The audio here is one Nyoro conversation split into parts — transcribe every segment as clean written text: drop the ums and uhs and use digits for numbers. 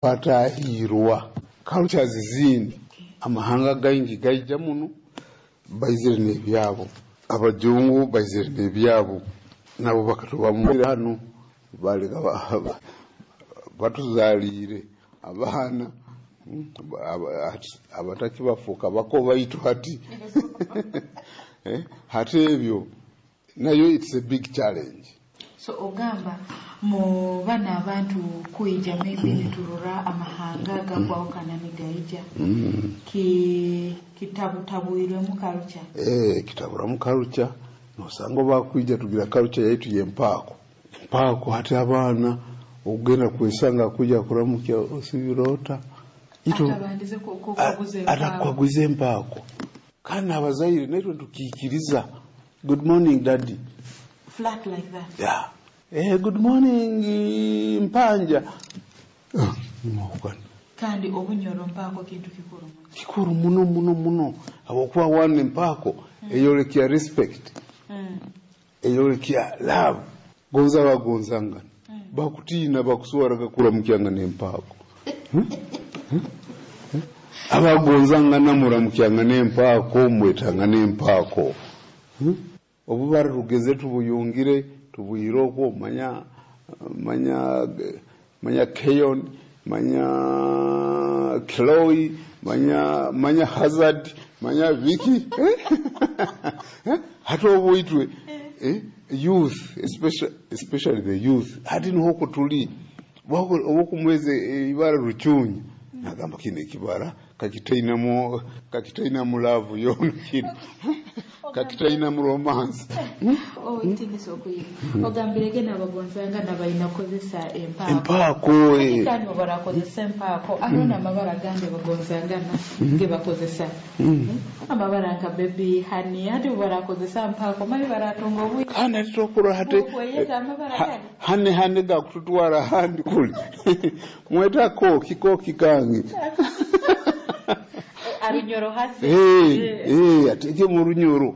Twatahirwa cultures zindi, amahanga gaingi gaija muno baizire n'ebyabo, abajungu baizire n'ebyabo, nabo bakatubamu hanu baleka batuzaliire abaana abatakibafuuka bako baitu hati. Hati ebyo nayo it's a big challenge. So ogamba mu bana abantu kwija, maybe niturora amahanga gakwahukana nigaija, ki kitabutabwirwemu culture. Kitaburamu culture, nosanga bakwija tugira culture yaitu yempaako empaako. Hati abaana okugenda kwesanga kuja kuramukya osibirota. Atabandize kukaguza empaako. Atakukaguza empaako, kandi abazaire naitwe tukiikiriza, "Good morning, daddy." Flat like that. Yeah. "Good morning, mpanja." Nimwahukana. Kandi obunyoro mpaako kintu kikuru muno. Kikuru muno muno muno, habwokuba one, empaako eyolekya respect, eyolekya love, gonza bagonzangana, bakutiina, bakuswaraga kuramukyangana empaako. Abagonzangana muramukyangana empaako, mwetangana empaako. Obubara tugeze tubuyungire tubwire okwo, manya manya manya Keyon, manya Chloe, manya manya Hazard, manya Vicky. Hati obwitwe youth, especially the youth, hati niho kutuli obukumweze ibara Rucunya, nagamba kino ekibara kakitainamu love yona, kino kakitainamu romance. Oh, itinisa okuyiga ogambirege nabagonzangana balina kukozesa empaako. Empaako. Kandi barakozesa empaako, hariho n'amabara agandi bagonzangana ge bakozesa, amabara nka baby, honey. Hati barakozesa mpaako, mali baratunga obwire. Kandi ati tokura hati. Okweyeta amabara gandi. Hane hane gakututwara handi kuli mweta koki koki kange. Arunyoro hasi. Ateke mu Runyoro.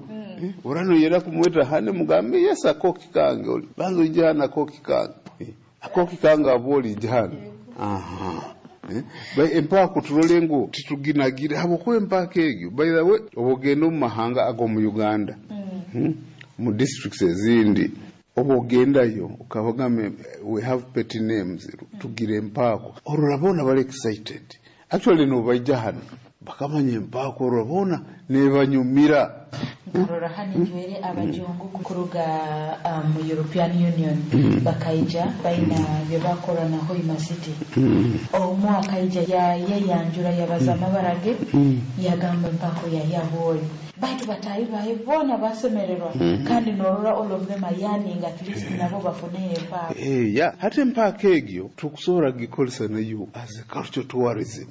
Urano yera kumweta honey, mugambe yes, akoki kange, oli banza ijana akoki kange. Akoki kange aboli ijana aha. Empaako turole ngu tituginagire, habwokuba empaako egyo, by the way, obugenda omu mahanga ag'omu Uganda, Mu districts ezindi oba ogendayo okabagamba, "We have pet names," tugira empaako, orora boona bali excited. Actually nobaija hano bakamanya empaako, orora boona nebanyumira. Nkarora hano njwere abajungu kuruga mu European Union bakaija baina bye bakora na Hoima City. Omu akaija yayanjura, yabaza amabara ge, yagamba empako ya yaboli, baitu batayi baye bona basemererwa. Kandi norora all of them are yearning at least nabo bafune empako. Ya hati empaako egyo tukusobola gikozesa nayo as a culture tourism.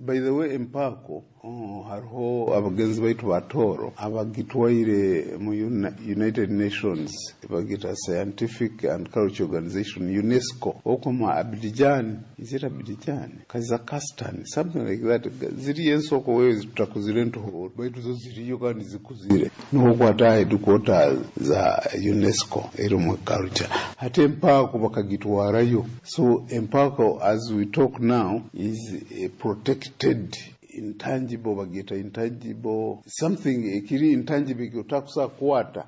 By the way, empaako, oh, hariho abagenzi baitu batoro abagitwaire mu United Nations, bagita Scientific and Culture Organization, UNESCO, okoma Abidjan, is it Abidjan, Kazakhstan, something like that. Ziriyo ensoko wewe tutakuzire ntuhuru, baitu zo ziriyo kandi zikuzire, niho kwata headquarters za UNESCO eri mu culture. Hati empaako bakagitwarayo. So empaako, as we talk now, is a protected intangible, bagita intangible something, ekiri intangible ekyotakusa kukwata,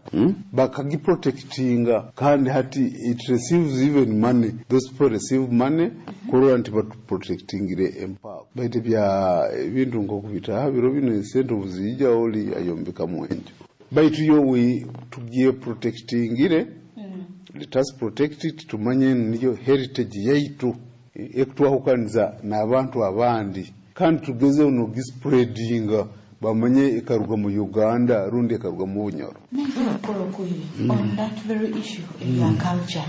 Bakagiprotectinga, kandi hati it receives even money. Those people receive money kurora nti batuprotectingire empaako. Baitu bya ebintu nkokubita biro bino, esente obuziija oli ayombekamu enju, baitu yo we tugiye protectingire. Let us protect it, tumanye niyo heritage yaitu ekutwahukaniza n'abantu abandi, kandi tugezeho nogispreadinga bamanye ekaruga mu Uganda rundi ekaruga mu Bunyoro. Nenkora okuyi on that very issue eya culture,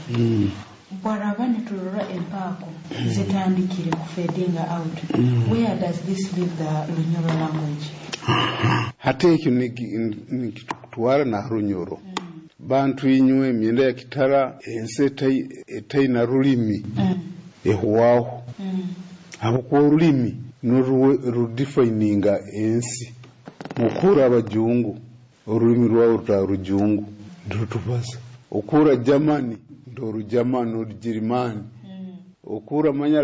bwaraba niturora empaako zitandikire kufadinga out, where does this leave the Lunyoro language? Hati ekyo nikitutwara na Runyoro. Bantu inywe emyenda ya kitara, ensi etaina rulimi ehwaho, habwokuba orulimi rudefininga ensi. Mukura abajungu orulimi rwabo ruta rujungu ntirutubaza, okura Germany nti Orugermani, Orugirimani, okura manya.